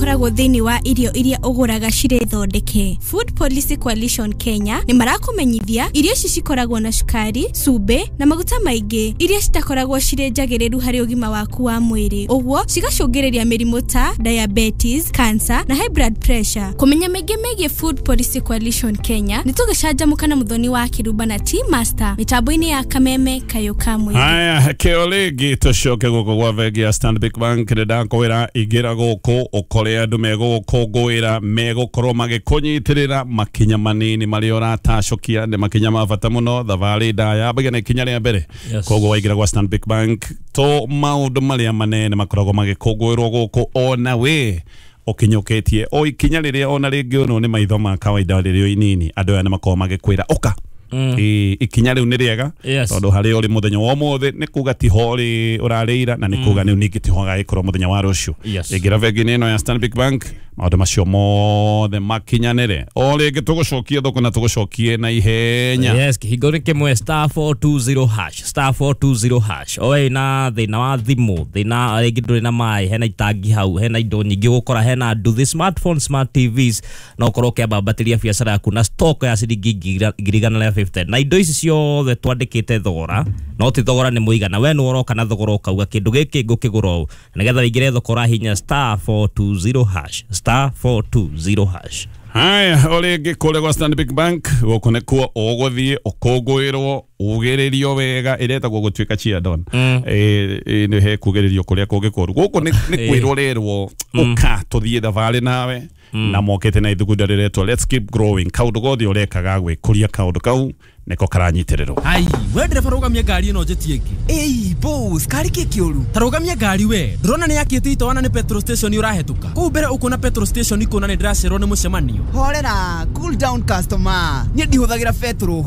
Koragwo thĩinĩ wa irio iria ũgũraga cirĩ thondeke. Food Policy Coalition Kenya nĩ marakũmenyithia irio ici cikoragwo na cukari, cumbĩ na maguta maingĩ, iria citakoragwo cirĩ njagĩrĩru harĩ ũgima waku wa mwĩrĩ, ũguo cigacũngĩrĩria mĩrimũ ta diabetes, cancer na high blood pressure. Kũmenya maingĩ megiĩ Food Policy Coalition Kenya, nĩ tũgĩcanjamũka na Mũthoni wa Kĩrumba na T Master mĩtambo-inĩ ya Kameme Kayũ ka Mwĩrĩ. Haya, kĩo rĩngĩ tũcoke gũkũ gwa bengi ya Stanbic Bank. Nĩ ndakwĩra ingĩra gũkũ ũkore andũ megũgũkũngũĩra, megũkorwo magĩkũnyitĩrĩra makinya manini marĩa ũratacũkia nĩ makinya ma bata mũno. Thabarĩ ndaya yambagia na ikinya rĩa mbere. Koguo waingĩra gwa Stanbic Bank, to maũndũ marĩa manene makoragwo magĩkũngũĩrwo gũkũ, ona we ũkinyũkĩtie o ikinya rĩrĩa ona rĩngĩ ũno nĩ maitho ma kawaida rĩrĩa inini, andũ aya nĩ makoragwo magĩkwĩra ũka. Ĩ, ikinya rĩu nĩ rĩega, tondũ harĩa ũrĩ mũthenya wa ũmũthĩ nĩ kuga tiho ũrĩ ũrarĩira, na nĩ kuga nĩ ningĩ tiho gagĩkorwo mũthenya wa rũciũ. Ingĩra bengi-inĩ ĩno ya Stanbic Bank, maũndũ macio mothe makinyanĩre. O rĩngĩ tũgũcokie thoko na tũgũcokie na ihenya. Yes, kĩhingo nĩ kĩmwe, *420#, *420#. Oe na thĩna wa thimũ, thĩna rĩngĩ ndũrĩ na maĩ, hena itangi hau, hena indo nyingĩ ũgũkora, hena nduthi, smartphone, smart TVs, no ũkorwo ũkĩambambatĩria biacara yaku na stock ya ciringi 150,150. Na indo ici ciothe twandĩkĩte thogora, no ti thogora, nĩ mũigana. We nĩ ũroka na thogora ũkauga kĩndũ gĩkĩ ngũkĩgũra ũũ, na nĩgetha ũingĩre thoko ũrahinya *420#, *420#. Haya, o rĩngĩ kũrĩa gwa Stanbic Bank, gũkũ nĩkuo ũgũthiĩ ũkũngũĩrwo, ugĩrĩrio wega, ĩretagwo gũtuĩka chiadon. Nĩ he kugĩrĩrio kũrĩa kũngĩ kũru. Gũkũ nĩ kwĩrwo rĩrwo ũka tũthiĩ thabarĩ nawe, na mokĩte na ithugunda rĩretwo "Let's keep growing". Kaũndũ gothe ũrekaga gwĩkũria, kaũndũ kau nĩko karanyitĩrĩrwo. Ai, we ndereba, rũgamia ngari ĩno njĩtie ĩngĩ. Ĩi boss, kari kĩ kĩũru? Ta rũgamia ngari we. Ndũrona nĩ yakĩte itoana nĩ petrol station ũrahetũka kũu mbere, ũkuona petrol station, ikuona nĩ ndĩracererwo nĩ mũcemanio. Horera, cool down customer, niĩ ndihũthagĩra betũrũ.